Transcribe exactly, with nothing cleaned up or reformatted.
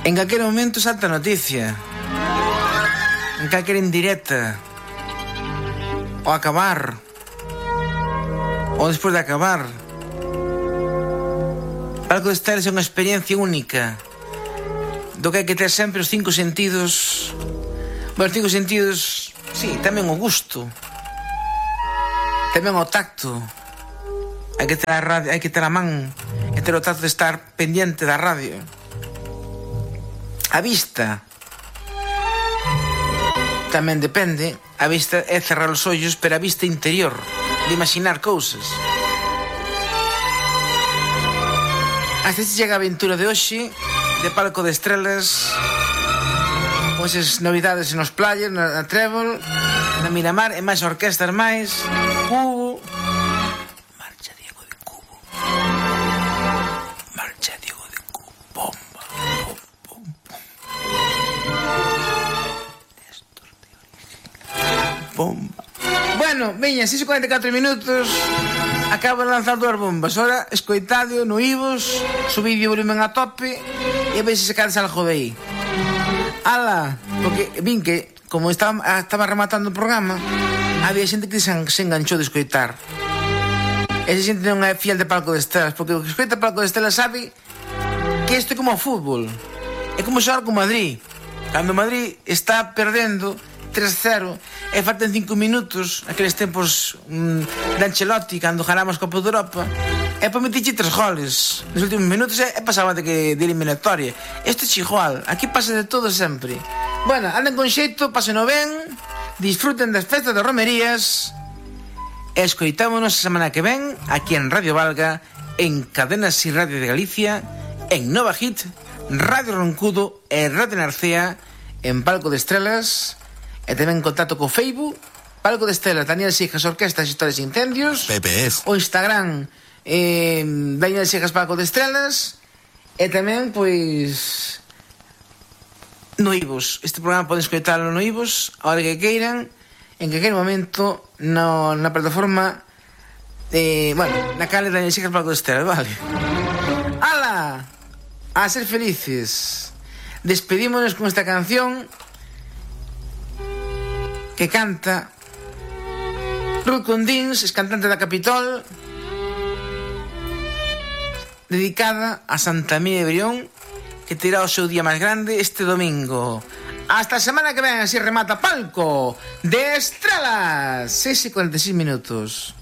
En calquer momento salta a noticia, en calquer indirecta, ao acabar, ou despois de acabar. Palco de Estelas é unha experiencia única, do que hai que ter sempre os cinco sentidos. Bueno, os cinco sentidos, sí, tamén o gusto, tamén o tacto. Hai que ter a radio, hai que ter a man, hai que ter o tacto de estar pendiente da radio. A vista tamén depende. A vista é cerrar os ollos, pero a vista interior, de imaginar cousas. Hasta se chega a aventura de hoxe de Palco de Estrelas, con esas novidades nos playas, na, na Trébol, na Miramar, e máis orquestas máis. Cubo, marcha Diego de Cubo, marcha Diego de Cubo, bomba, bom, bom, bom. Néstor de origen, bomba. Bueno, veña, seis e cuarenta e catro minutos. Acabo de lanzar dúas bombas. Ora, escoitadio no Ivos, subidio o volumen a tope e a ver se sacades algo de aí. Ala, porque vin que, como estaba, estaba rematando o programa, había xente que se, se enganchou de escoitar. Esa xente non é fiel de Palco de Estelas, porque o que escoita Palco de Estelas sabe que isto é como o fútbol. É como xogar con Madrid. Cando Madrid está perdendo tres cero e faltan cinco minutos, aqueles tempos mmm, de Ancelotti, cando ganamos Copa de Europa, e para meterche tres goles nos últimos minutos e, e pasaba de, que, de eliminatoria. Isto é igual, aquí pasa de todo sempre. Bueno, anden con xeito, pásenlo ben, disfruten das festas de romerías e escoitámonos a semana que ven aquí en Radio Valga, en Cadenas y Radio de Galicia, en Nova Hit, Radio Roncudo e Radio Narcea, en Palco de Estrelas. E tamén en contacto co Facebook, Palco de Estelas, Daniel Sijas, Orquestas, Historias e Incendios. P P S. O Instagram, eh, Daniel Sijas, Palco de Estelas. E tamén, pois, no Ivos. Este programa poden escoitalo no Ivos, a hora que queiran, en calquer momento, no, na plataforma, eh, bueno, na cale Daniel Sijas, Palco de Estelas, vale. ¡Hala! A ser felices. Despedímonos con esta canción que canta Ruth Condins, es cantante da Capitol, dedicada a Santa Mía de Brión, que terá o seu día máis grande este domingo. Hasta a semana que ven, así remata Palco de Estrelas. seis e cuarenta e seis minutos.